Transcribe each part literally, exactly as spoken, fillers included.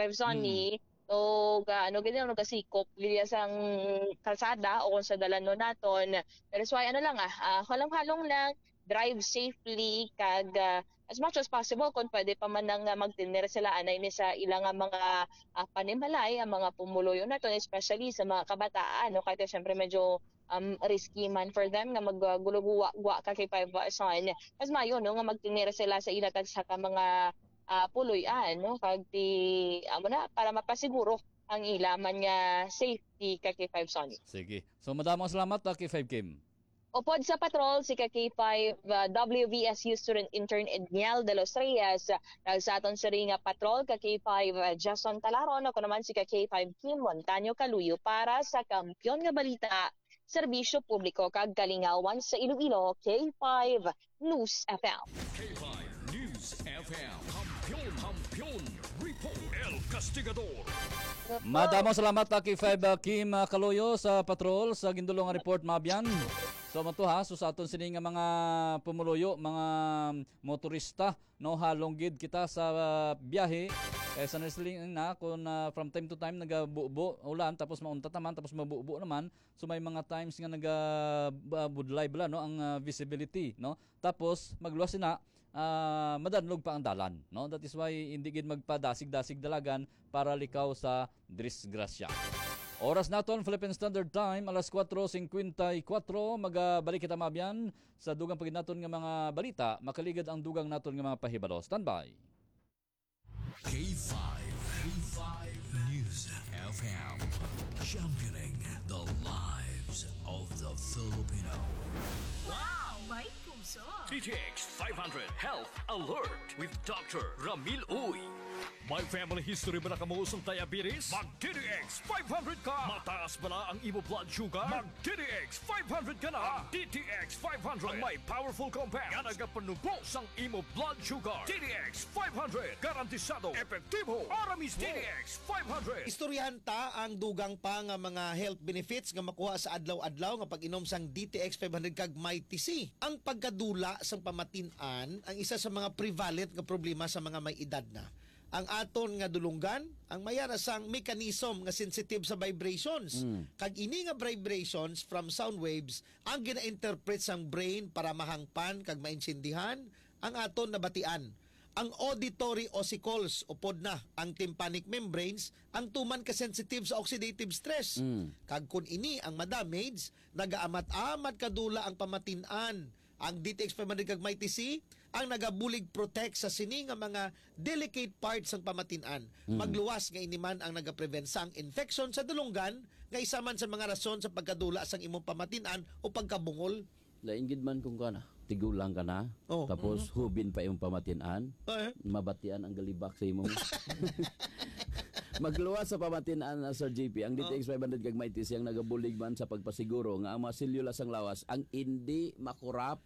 five, Sonny. Mm. So, ga-, ano, gid, ano, gasikop gid sang kalsada o kung sa dalanon naton. Pero so, ay, ano lang, ah, ah, halong-halong lang, drive safely, kag, ah, as much as possible, kung pwede pa man nang, ah, magtener sila anay ni sa ilang, ah, mga, ah, panimalay, ang mga pumuluyo naton, especially sa mga kabataan, no? Kaya syempre medyo, um, risky man for them nga mag, ah, gulugwa-gwa ka kay five, ah, Son. Mas maayo, no, nga magtener sila sa ila tagsa ka mga, ah, puloy-an, no? Kag ti, amo na, para mapasiguro ang ila man nga safety ka kay five, Sonny. Sige. So, madamo salamat, ah, kay five Kim. Upod sa patrol, si ka K five, ah, W V S U student intern Edniel de los Reyes, ah, nagsaton sini nga patrol ka K five, ah, Jason Talaron, ako naman si ka K five Kim Montaño Kaluyo para sa Kampiyon nga Balita, Serbisyo Publiko kag Kalingawan sa Iloilo, K five News F M. K five News F M. Kampiyon, Kampiyon Report. El Castigador. Madamo salamat, ah, K five, ah, Kim, ah, Kaloyo sa patrol sa gindulong nga report, Mabyan. So, mato ha, so sa aton sini nga mga pumuluyo, mga motorista, no, halong gid kita sa, ah, biyahe. Eh, sa wrestling na, kung, ah, from time to time, nagabubo, ulan, tapos mauntat naman, tapos mabubo naman. So, may mga times nga naga, ah, budlay bala, no, ang, ah, visibility, no? Tapos, magluwas na, ah, madanlog pa ang dalan, no? That is why hindi gid magpadasig-dasig dalagan para likaw sa disgrasya. Oras naton, Philippine Standard Time, alas kuwatro singkwenta y kuwatro. Magabalik kita, Mabyan, sa dugang pa gid naton nga mga balita. Makaligad ang dugang naton nga mga pahibalo. Standby. K five, K five News F M, championing the lives of the Filipino. Wow! May puso! D T X five hundred Health Alert with Doctor Ramil Uy. May family history ba na kamo sang diabetes? Mag D T X five hundred ka! Mataas bala ang imo blood sugar? Mag D T X five hundred ka na! Ang D T X five hundred ang may powerful compound nga nagapanubo sang imo blood sugar. D T X five hundred, garantisado, epektibo, para mismo. D T X five hundred. Istoryahan ta ang dugang pa nga mga health benefits nga makuha sa adlaw-adlaw nga pag-inom sang D T X five hundred kag Mighty C. Ang pagkadula sang pamatin-an ang isa sa mga prevalent nga problema sa mga may edad na. Ang aton nga dulonggan, ang may ara sang mechanism nga sensitive sa vibrations. Mm. Kag ini nga vibrations from sound waves ang gina-interpret sang brain para mahangpan kag maintindihan ang aton nabatian. Ang auditory ossicles, upod na ang tympanic membranes, ang tuman ka sensitive sa oxidative stress. Mm. Kag kun ini ang madamage, nagaamat-amat kadula ang pamatin-an. Ang D T X five hundred kag Mighty C ang nagabulig protect sa sini nga mga delicate parts sang pamatin-an. Mm. Magluwas nga ini man ang nagaprevent sang infection sa dulonggan, nga isa man sa mga rason sa pagkadula sang imong pamatin-an o pagkabungol. Lain gid man kung kana, tigulang ka na, oh, tapos, mhm, hubin pa imong pamatin-an, eh, mabatian ang galibak sa imo. Magluwas sa pamatin-an na, Sir J P, ang, oh, D T X five hundred kag Mighty C ang nagabulig man sa pagpasiguro nga ang mga selula sang lawas ang indi makurap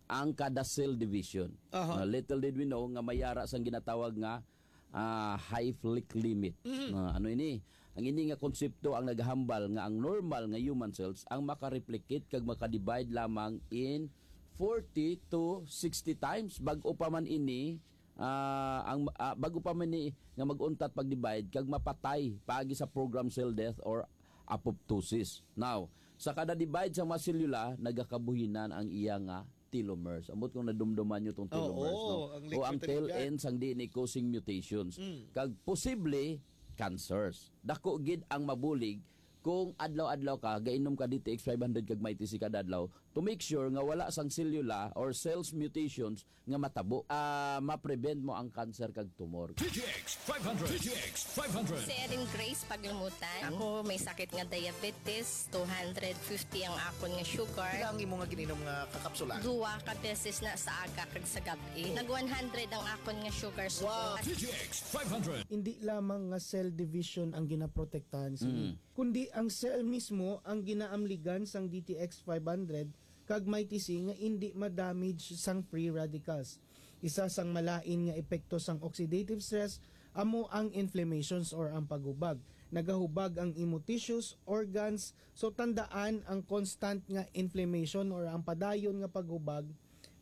ang kada cell division. Aha. Uh, little did we know nga may ara sang ginatawag nga, ah, Hayflick limit. Mhm. Ah, ano ini? Ang ini nga konsepto ang naghambal nga ang normal nga human cells ang makareplicate kag makadivide lamang in forty to sixty times. Bag-o pa man ini, ah, ang, ah, bag-o pa man ni nga mag-untat pag-divide kag mapatay paagi sa programmed cell death or apoptosis. Now, sa kada divide sa mga selula, nagakabuhinan ang iya nga telomeres. Ambot kung nadumduman nyo tong, oo, telomeres, no? Ang, o ang liquid tail end sang D N A causing mutations. Mm. Kag posible, cancers. Dako gid ang mabulig kung adlaw-adlaw ka, gainom ka D T X five hundred kag Mighty C kada adlaw to make sure nga wala sang selula or cells mutations nga matabo. Ah, ma-prevent mo ang cancer kag tumor. D T X five hundred. D T X five hundred. Si Erin Grace Paglumutan. Ako may sakit nga diabetes, two hundred fifty ang akon nga sugar. Pila ang imo nga gininom nga kakapsula? Duwa ka beses na sa aga kag sa gab-i. Oh. Nag one hundred ang akon nga sugar. Wow. D T X five hundred. Hindi lamang nga cell division ang ginaprotektahan sini, mm, kundi ang cell mismo ang ginaamligan sang D T X five hundred kag Mighty C nga indi ma-damage sang free radicals. Isa sang malain nga epekto sang oxidative stress amo ang inflammations or ang paghubag. Nagahubag ang imo tissues, organs, so tandaan ang constant nga inflammation or ang padayon nga paghubag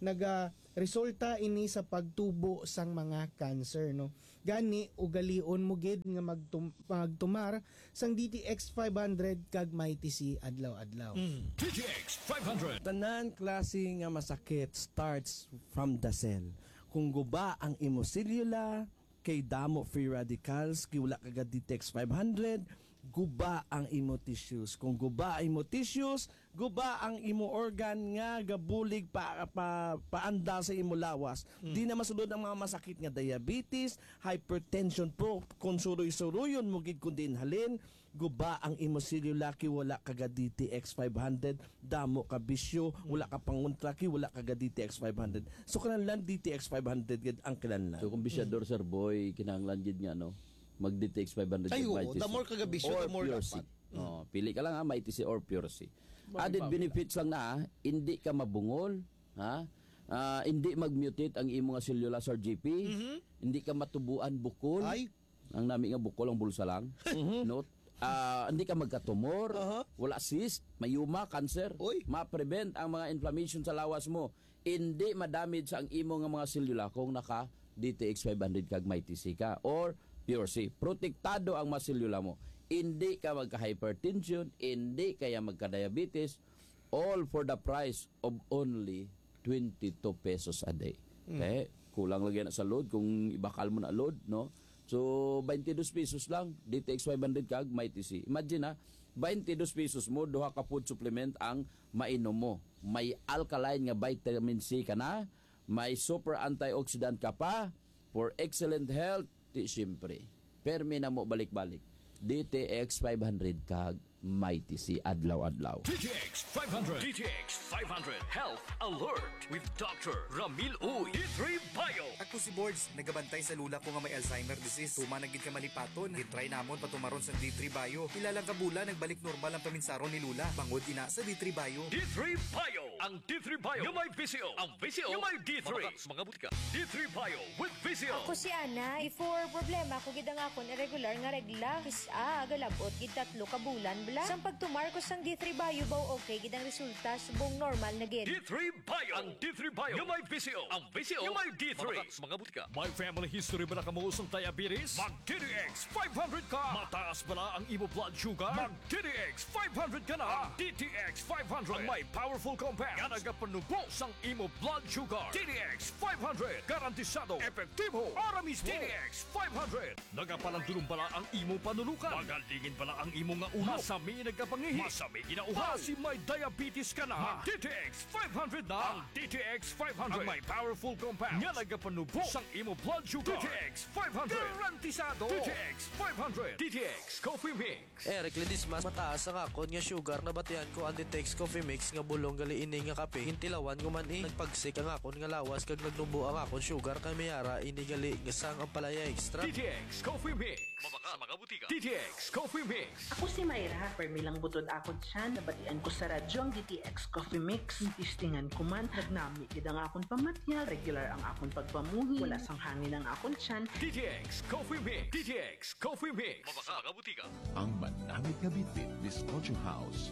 Nagaresulta ini sa pagtubo sang mga cancer, no? Gani, ugalion mo gid nga magtum-, magtumar sang D T X five hundred kag Mighty C adlaw-adlaw. Mm. D T X five hundred. Tanan klase nga masakit starts from the cell. Kung guba ang imo selula, kay damo free radicals, kay wala ka ga D T X five hundred, guba ang imo tissues. Kung guba ang imo tissues, guba ang imo organ nga gabulig pa, pa, paanda sa imo lawas. Mm. Di na masulod ang mga masakit nga diabetes, hypertension po, kung suroy-suroyon mo gid kung diin halin, guba ang imo selula kay wala ka ga D T X five hundred, damo ka bisyo, wala ka pangontra kay wala ka ga D T X five hundred. So, kinahanglan D T X five hundred gid ang kinahanglan. So, kung bisyador, Sir Boy, kinahanglan gid nga, no, mag D T X five hundred Ay, gid, oo. Mighty C. The more ka ga bisyo, or the more Pure C. Dapat. Oh, pili ka lang, ha, Mighty C or Pure C. Added benefits lang na, ha, hindi ka mabungol, ha? Ah, hindi mag-mutate ang imo nga selula, Sir G P. Mhm. Hindi ka matubuan bukol. Ay. Ang nami nga bukol ang bulsa lang. Mhm. No? Ah, hindi ka magkatumor, Aha. wala cyst, mayuma, cancer. Uy. Ma-prevent ang mga inflammation sa lawas mo. Hindi ma-damage ang imo nga mga selula kung naka D T X five hundred kag Mighty C ka or Pure C. Protektado ang mga selula mo. Hindi ka magka-hypertension, hindi kaya magka-diabetes, all for the price of only twenty-two pesos a day. Mm. Okay? Kulang lagi na sa load kung ibakal mo na load, no? So, twenty-two pesos lang, D T X five hundred kag Mighty C. Imagine, ha, twenty-two pesos mo, duha ka food supplement ang mainom mo. May alkaline nga vitamin C ka na, may super antioxidant ka pa, for excellent health, ti siyempre. Permi na mo balik-balik. D T X five hundred kag Mighty C adlaw-adlaw. D T X five hundred. D T X five hundred Health Alert with Doctor Ramil Uy. D three Bio. Ako si Bords, nagabantay sa lula ko nga may Alzheimer disease. Tuman na gid ka malipaton. Gitry namon patumaron sang D three Bio. Pila lang ka bulan, nagbalik normal ang paminsaron ni Lula. Bangod ina sa D three Bio. D three Bio. Ang D three Bio nga may V C O. Ang V C O nga may D three. Mabakal sa mga butika. D three Bio with V C O. Ako si Ana. Before, problema ko gid ang akon irregular nga regla. Kis-a, galabot gid tatlo ka bulan bala. Sang pagtumar ko sang D three Bio, baw okay gid ang resulta, subong normal na gid. D three Bio. Ang D three Bio nga may V C O. Ang V C O nga may D three. Mabakal sa mga butika. May family history bala kamo sang diabetes? Mag D T X five hundred ka. Mataas bala ang imo blood sugar? Mag D T X five hundred ka na. Ang D T X five hundred ang may powerful compound nga nagapanubo sang imo blood sugar. D T X five hundred, garantisado, epektibo, para mismo. D T X five hundred, nagapalandulong bala ang imo panulukan? Magalingin bala ang imo nga ulo? Masami nagkapangihi? Masami ginauhaw? Basi may diabetes ka na? Mag D T X five hundred na. Ang D T X five hundred ang may powerful compound nga nagapanubo sang imo blood sugar. D T X five hundred, garantisado. D T X five hundred, D T X Coffee Mix. Eric Ledesma, mataas ang akon nga sugar. Nabatian ko ang D T X Coffee Mix nga bulong gali ini nga kape. Gintilawan ko man, eh. Nagpagsik ang akon nga lawas kag nagnubo ang akon sugar, kay may ara ini gali nga sang Ampalaya Extra. D T X Coffee Mix. Mabakal sa mga butika. D T X Coffee Mix. Ako si Myra. Permi lang butod akon tiyan. Nabatian ko sa radyo ang D T X Coffee Mix. Testingan ko man. Nagnami gid ang akon pamatyag. Regular ang akon pagpamuhi. Wala sang hangin ang akon tiyan. D T X Coffee Mix. D T X Coffee Mix. Mabakal sa mga butika. Ang manamit nga bitbit, Bizcocho House.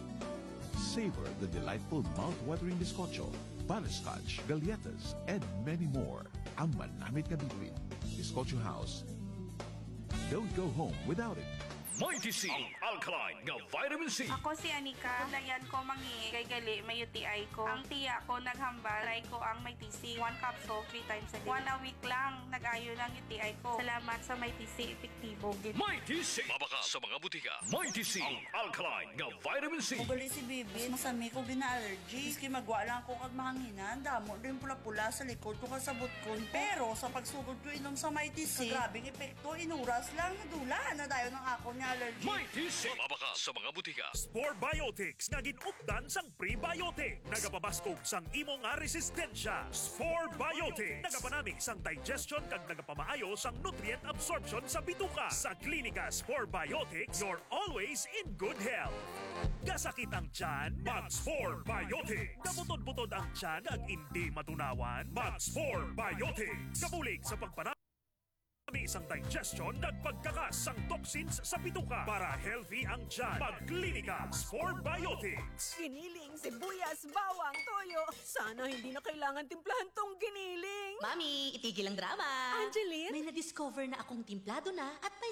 Savor the delightful mouth-watering bizcocho, butterscotch, galletas, and many more. Ang manamit nga bitbit, Bizcocho House. Don't go home without it. Mighty C, ang alkaline nga vitamin C. Ako si Anika. Layan ko mangi kay gali may U T I ko. Ang tiya ko naghambal, try ko ang Mighty C. One capsule, three times a day. One a week lang, nag-ayo lang U T I ko. Salamat sa Mighty C, epektibo gid. Mighty C. Mabakal sa mga butika. Mighty C, ang alkaline nga vitamin C. Ugali si Bibi, masami ko gina-allergy. Maski magwa lang ako kag mahanginan, damo din pula-pula sa likod ko kag sa butkon ko. Pero sa pagsugod ko inom sa Mighty C, grabe ang epekto, inuras lang, nadula na dayon ang akon nga allergy. Mighty C. Mabakal sa mga butika. Spore Biotics nga gin-updan sang prebiotic. Nagapabaskog sang imo nga resistensya. Spore Biotics. Nagapanami sang digestion kag nagapamaayo sang nutrient absorption sa bituka. Sa Klinika Spore Biotics, you're always in good health. Kasakit ang tiyan? Mag Spore Biotics. Kabutod-butod ang tiyan kag indi matunawan? Mag Spore Biotics. Kabulig sa pagpana- Ni isang digestion, nagpagkakas sang toxins sa bituka para healthy ang tiyan. Magklinika Spore Biotics. Giniling, sibuyas, bawang, toyo. Sana hindi na kailangan timplahan tong giniling. Mami, itigil ang drama. Angeline? May na-discover na akong timplado na at may